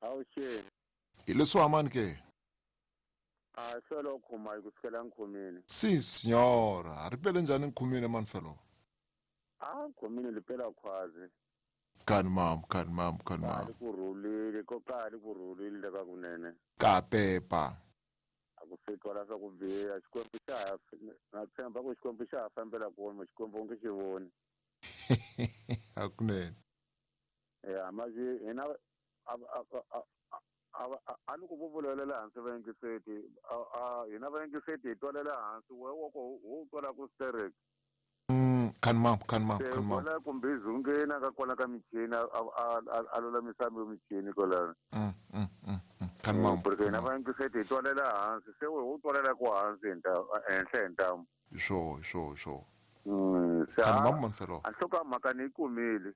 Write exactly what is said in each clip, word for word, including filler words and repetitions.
Avuxeni. Hi leswi hamani ke? A solo khuma hi kusukela nkhumini. Si signora, ri pele njhani nkhumini mani felo? A nkhumini li pela khwazi. Kani mam, kani mam, kani mam. Ka ku rhulile, ko ka ku rhulile ka kunene. Ka pepa. A ku fika la swa ku biha, Xikwembu xa ha na tshemba ku Xikwembu xa ha fambela kona, Xikwembu nge xi voni. Hakunene. Ya, manje hina a a a a ni ku vuvulela hansi vayingiseti a hina vayingiseti hi twalela hansi we wo ko wo twala ku sterek. Mm, kani mam, kani mam, kani mam. Kwala kumbe zungena ka kwala ka michini a a a lulamisa michini kwala. Mm, mm, mm, kani mam. Porque hina vayingiseti hi twalela hansi se we wo twalela ku hansi hi nta henhla hi ntamu. Sure, sure, sure. Mm, kani mam man felo. A hloka mhaka ni yi kumile.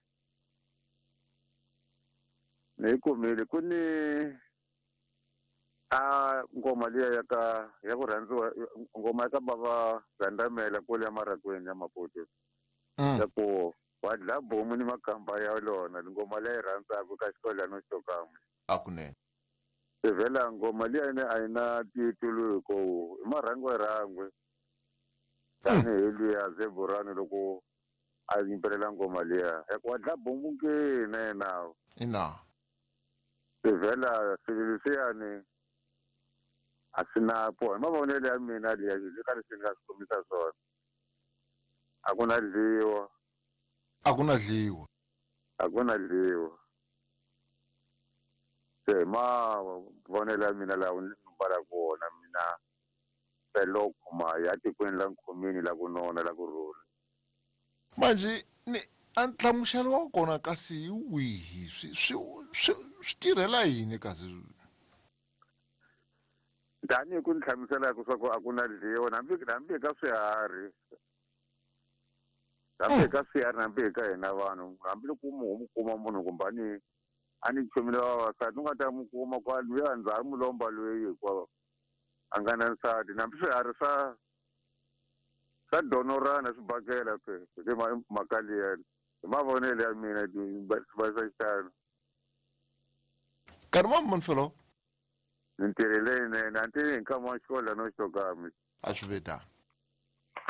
Ni yi kumile ku ni a ngoma liya ya ka ya ku rhandziwa ngoma ya ka bava Gandamela kule ya Marakweni ya Maputo. Ya ku wa dla bomu ni makamba ya lona ngoma leyi rhandzaka ka xikolano xo kamwe. Hakunene. Se vhela ngoma liya ine a yi na titulu hi ku i marhangwe rhangwe. Tanihi luya Zeburani loko a yimbelela ngoma liya ya ku wa dla bomu ke na yena. Ina. Se vhela swilo leswiyani a swi na po hi mavonelo ya mina liya yi ka leswi ni nga swi kombisa swona. A ku na dliwa. A ku na dliwa. A ku na dliwa. Se hi mavonelo ya mina lawa ni mbalaka wona mina felo khuma ya tikweni la nkhumini la ku nona la ku rhula. Manje ni a nhlamuselo wa kona kasi hi wihi swi swi swi swi tirhela yini kasi? Tanihi ku ni hlamuselaka swa ku a ku na dliwa hambi hambi ka swiharhi. Hambi ka swiharhi hambi ka hina vanhu hambi loko mu mu kuma munhu kumbe a ni a ni chomile vavasati u nga ta mu kuma kwa luya ndzhaku mulomba loyi hinkwawo a nga na nsati hambi swiharhi swa swa donorana swi bakela ke hi mhaka liya hi mavonelo ya mina va swa xitalo. Nkarhi wa mani felo? Ni ntirho leyinene a ni tivi hi nkama wa xikolo no xo kambe. A swi ve tano.